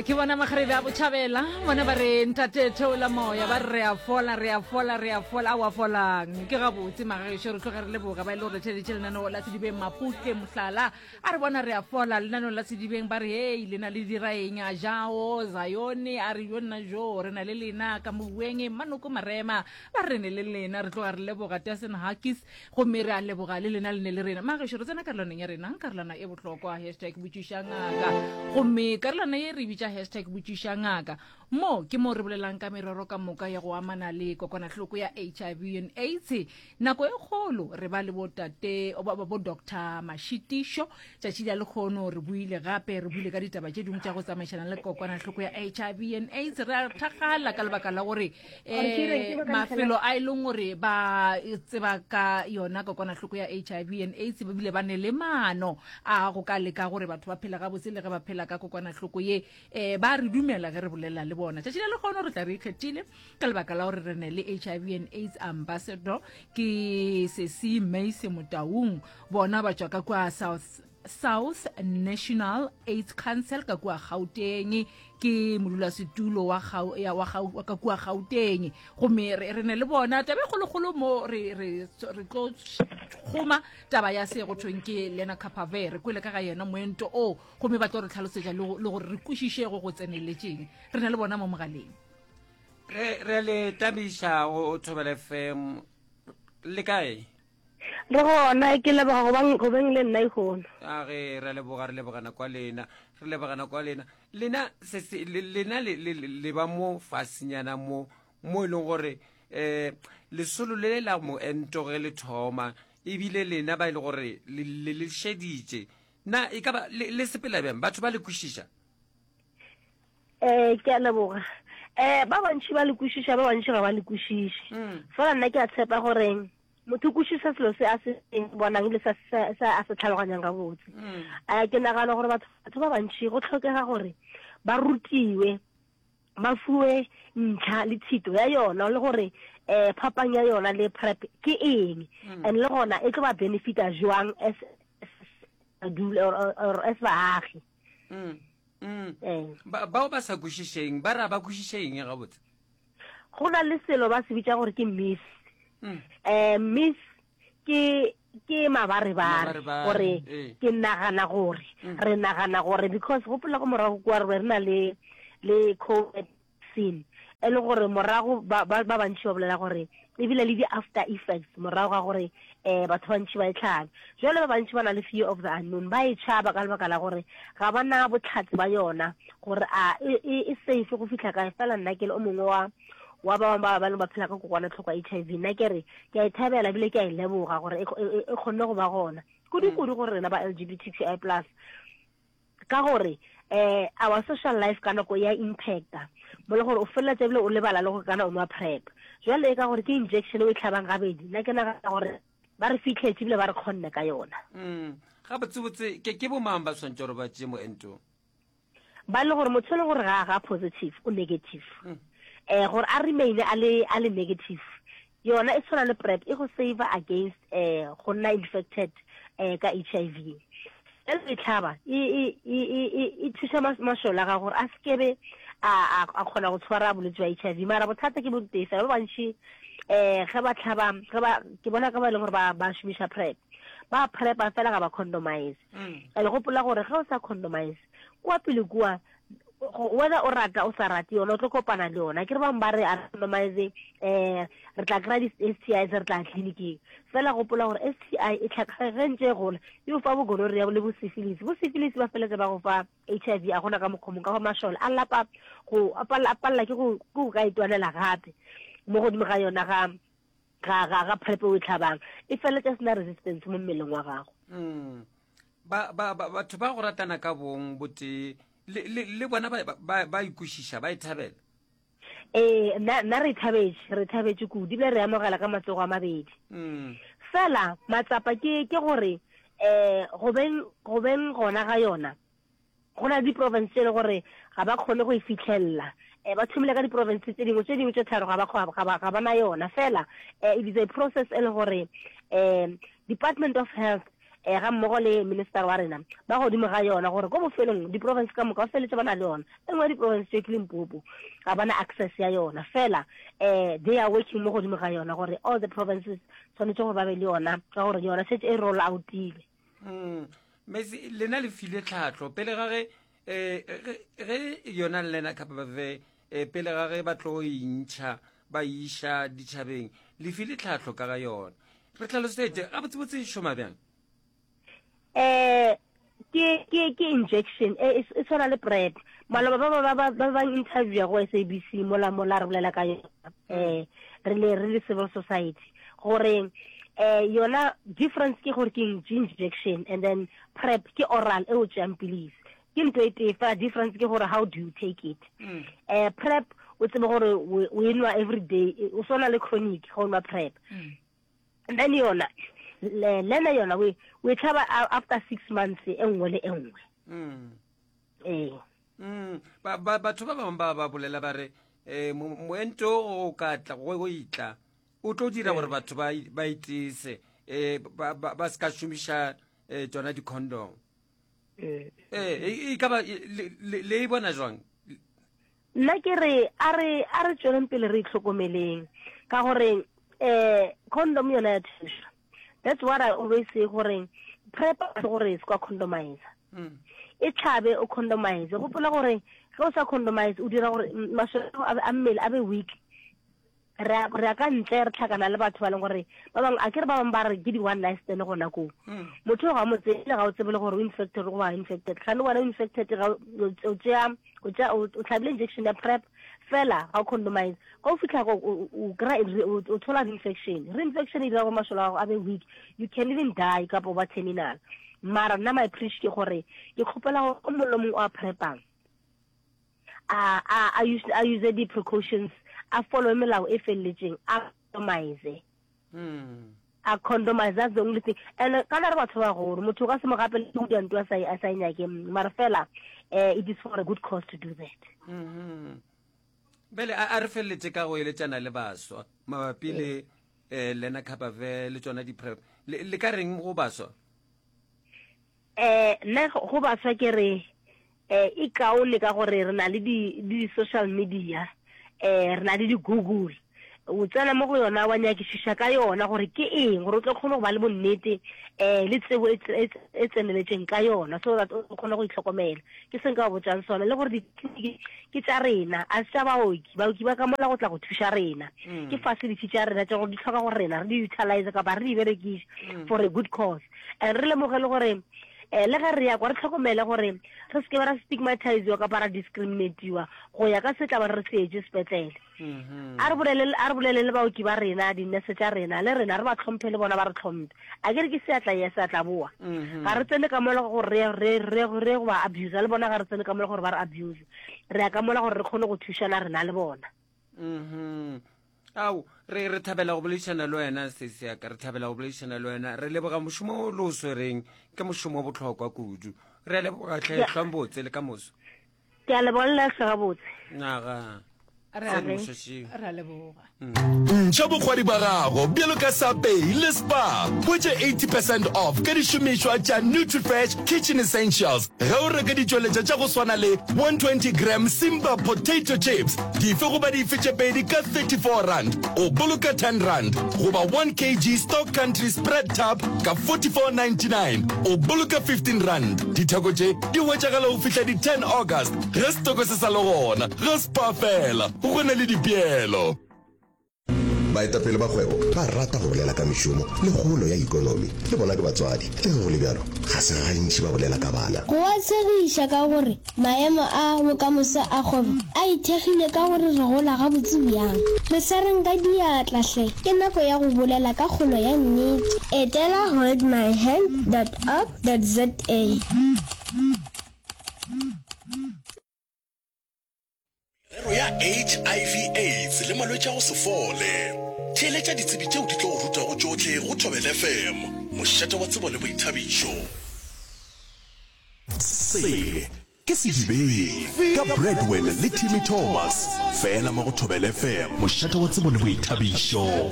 Ya, ke bona makgarebe a botšhabela bona ba re ntate theola moya ba re re a fola re a fola re a fola a wa folang ke gabotse magagešo re tloge re leboga ba e le gore theletše lenaneo la sedibeng maputle mohlala a re bona re a fola lenaneo la sedibeng ba re hei lena le dira eng a jao zayone a re yo nna jo re na le lena ka mobueng manoko marema ba re ne le lena re tloga re leboga Dasen Hakis gomme re a leboga le lena le ne le rena magešo re tsena karolwaneng ya rena karolwana e bohlokwa hashtag botšiša ngaka gomme karolwana ye re bitša hashtag botšiša ngaka mo ke mo re bolelang ka merero ka moka ya go amana le kokwanahloko ya hiv and aids nako e kgolo re ba le botate bo doctor mashitišo tšatši la lekgono re buile gape re buile ka ditaba tše dingwe tša go tsamaišana le kokwanahloko ya hiv and aids re a thakgala ka lebaka la gore um mafelo a e leng gore ba tseba ka yona kokwanahloko ya hiv and aids ba bile ba ne le maano a go ka leka gore batho ba phela gabotse le ge ba phela ka kokwanahloko ye um ba re dumela ge re bolela le bona tšatši la lekgono re tla re ikgethile ka lebaka la gore re ne le hiv and aids ambassador ke sesi maise motaung bona ba tšwa ka kua south South National AIDS Council ka kua Gauteng ke modulasetulo wa gau, ya, wa gau, ka kua Gauteng gomme re, re ne le bona taba e kgolokgolo mo re, re, re tlo kgoma taba ya se go thweng ke Lena Capave re kwele ka ga yena moento o gomme ba tlo re tlhalosetša le go gore re kwešiše go go tseneletšeng re ne le bona mo mogaleng re re le tabiša go Thobela FM le kae Re gona, ke leboga go bang go beng le nna ihono. A ge re leboga re leboga nako ya lena re leboga nako ya lena lena se se lena le le le ba mo fasenyana mo mo e leng gore eh lesolo le la moento ge le thoma ebile lena ba e le gore le le le šeditše na e ka ba le le sepela bjang batho ba le kwešiša Eh, ke a leboga. Eh, ba bantši ba le kwešiša, ba bantši ga ba le kwešiše. Mm. Fela nna ke a tshepa gore motho o kwešiša selo se a se bonang le sa se a se tlhaloganyang gabotse. Mm. Eh, ke nagana gore batho batho ba bantši go tlhokega gore ba rutiwe ba fuwe ntlha le thito ya yona le gore eh phapang ya yona le prep ke eng mm. and le gona e tlo ba benefita jwang as or, or as baagi mm. Mm. Eh. Ba, bao ba sa kwešišeng ba ra ba kwešiše eng gabotse go na le selo ba se bitša gore ke miss mm. eh, miss ke ke mabarebare gore eh. ke nagana gore mm. re nagana gore because gopola go morago kwa re re na le le covid vaccine e le gore morago ba ba ba bantši ba bolela gore ebile le di-after effects morago ga gore um batho bantši ba e tlhabe jale ba bantši ba na le fear of the unknown ba e tšhaba ka lebaka la gore ga ba na botlhatse ba yona gore a e, e, e safe go fitlha kae fela nna ke le o mongwe wa wa ba bangwe ba ba ba phela ka kokwanatlhoko ya h i v nna ke re ke a e thabela ebile ke a e leboga gore e, e, e kgonne go ba gona kudu-kudu gore rena ba l g b t q i plus Ka gore um our social life ka nako ya impacta mo le gore o feleletsa ebile o lebala le gore kana o nwa prep jwale e ka gore ke injection o e tlhabang gabedi nna ke nagana gore ba re fitlhetse ebile ba re kgonne ka yona mm. gabotsebotse ke ke bomang ba tshwanetse gore ba tšee moento ba le gore motho e le gore ga ga positive o negative mm. eh gore a remain a le a le negative Yona e tshwana le PrEP, e go saver against eh go nna infected eh ka HIV. Ge o e tlhaba e e e e e thuša mašole a gago gore a sekebe a a kgona go tshwara bolwetse bja HIV. Mara bothata ke bo tee fela, ba bantši eh ge ba tlhaba ge ba ke bona ka ba e leng gore ba ba šomiša PrEP ba prepa fela ga ba condomise. Mm. And gopola gore ge o sa condomise kua pele kua whether o rata o sa rate yona o tlo kopana le yona ke re bangwe ba re randomize um re tla kry-a di-s t i se re tla tleliniking fela gopola gore s t i e tlhaka ge ntse e gola e o fa bogonoria le bosyphilis bosyphilis ba feletse ba go fa h i v a gona ka mokgomong ka go mašole a lapa go a palela ke go ka itwanela gape mo godimo ga yona ga ga ga ga prep o e tlhabang e feletša sena resistance mo mmeleng wa gago mm. ba ba batho ba go ratana ka bong botee le le le bona ba ba ba ikwešiša ba e thabela ee nna nna re thabetše re thabetše kudu ebile re amogela ka matsogo a mabedi mm. fela matsapa ke ke gore eh go beng go beng gona ga yona Go na le diprofense tše e le gore ga ba kgone go e fihlelela. Um ba thomile ka diprofense tše dingwe, tše dingwe tše tharo ga ba ga ba ga ba na yona. Fela um it is a process e le gore um Department of Health um ga mmogo le minister wa rena ba godimo ga yona gore ko bofelong di-province ka moka ba feletse ba na le yona. E nngwe ya di-province tše ke Limpopo, ga ba na access ya yona fela um they are working mo godimo ga yona gore all the provinces tshwanetse gore ba be le yona ka gore yona setse e roll outile. Mm. Mesi lena le file tlhahlo pele ga ge eh ge yona lena kapa eh pele ga ge ba tlo intšha ba iša ditšhabeng le file tlhahlo ka ga yona re tlhalosetse gabotsebotse e šoma bjang eh ke ke ke injection e e, e tshwana le prep maloba ba ba ba ba ba interview go SABC mola mola re bolela ka yona eh re le re le civil society gore eh yona difference ke gore ke injection and then prep ke oral e o tšeang pilisi ke ntho e tee fela difference ke gore how do you take it mm. eh prep o tsebe gore o e nwa every day o swana le chronic ga o nwa prep mm. and then yona lena yona o e tlhaba after six months e nngwe le e nngwe mm. ee mm. batho ba bangwe ba ba bolela ba re um moento o ka tla go itla o tlo dira gore batho ba itese um ba se ka šomiša um tsona di-condom ee e ka ba le e bona jwang nna ke re a re a re tsweleng pele re itlhokomeleng ka gore eh condom yona ya thuša that's what i always say gore prep se gore se kwa condomize mm. e tlhabe o condomize gopola gore ge o sa condomize o dira gore masole a mmele a be weak re a re ya ka ntle re tlhakana le batho ba leng gore ba bangwe a ke re ba bangwe ba re ke di-one night stand gona koo mm. motho o ga mo tsebe ga o tsebe le gore o infected goba infected gane wena o infected ga o tšea o tšea o tlhabile injection ya prep fela ga o condomize ga o fitlha o kry o thola reinfection reinfection e dira gore masole a gago a be weak you can even die kapa o ba terminal mara nna my preach ke gore ke kgopela gore o mongwe le mongwe o a prepang a a a use a use di precautions a follow melao e felletseng a condomize mm. a condomize that's the only thing and uh, kana re batho ba golo motho o ka se mo gape go dira ntwa a sa a sa e nyake mara fela eh it is for a good cause to do that mm -hmm. bele a re feleletse ka go eletšana le baswa mabapi le eh lena khabave le tsona di-prep le ka reng go baswa Eh, nna go baswa ke re eh e kaone ka gore re na le di di social media eh re na le di Google o tsena mo go yona wa nyakišiša ka yona gore ke eng gore o tlo kgone go ba le bonnete um le tsebo e, e, e tseneletšeng ka yona so that o kgone go itlhokomela ke se nka ba botsang sona le gore ditleliniki ke tša rena a se tša baoki baoki ba ka mola go tla go thuša rena mm. ke facility tša rena tša gore di tlhoka gore rena re di utilize kapa re di berekiše mm. for a good cause And re lemoge le gore um le ge re ya kwa re tlhokomele gore re seke ba ra stigmatiziwa kapa ra discriminatiwa go ya ka se tla ba re se etse sepetlele mm-hmm. a re bolele a re bolele le baoki ba rena dinese tša rena le rena re ba tlhomphe le bona ba re tlhomphe a ke re ke seatla ya seatla boa mm-hmm. ga re tsene ka mola gore re re re re go ba abuse le bona ga re tsene ka mola gore ba re abuse re ya ka mola gore re kgone go thušana rena le bona mm ao re re thabela go boledišana le wena sesi yaka re thabela go boledišana le wena re leboga mošomo o le o swereng ke mošomo o bohlokwa kudu re a leboga tlhetlhwang botse le ka moso ke a leboga le hle gabotse naga Re a- re a leboga Ntšha bokgwari ba gago bjalo ka Sapei le Spar. Hwetša 80 percent off ka dišomišwa tša Nutrifresh Kitchen Essentials ge o reka ditšweletša tša go swana le 120 gram Simba Potato Chips dife goba dife tše pedi ka R34, o boloka R10, goba 1 kg Stock Country Spread Tub ka R44.99, o boloka R15. Ditheko tše di hwetšagala go fihla di 10 August ge setoko se sa le gona. Ga Spar fela, go na le dipeelo. Baetapele ba kgwebo ba rata go bolela ka mešomo le kgolo ya ikonomi. Le bona ke batswadi. Le ge go le bjalo, ga se gantši ba bolela ka bana. Go a tshegiša ka gore maemo a bokamoso a kgwebo a ithekgile ka gore re gola gabotse bjang. Re swareng ka diatla hle, ke nako ya go bolela ka kgolo ya nnete. Etela holdmyhand dot org dot za. Merero ya HIV AIDS le malwetši a go se fole. Theeletša ditsebi tšeo di tlo go rutago tšohle go Thobela FM, mošate wa tsebo le boithabišo. Se ke Sedibeng ka Bradwin le Timmy Thomas, fela mo go Thobela FM, mošate wa tsebo le boithabišo.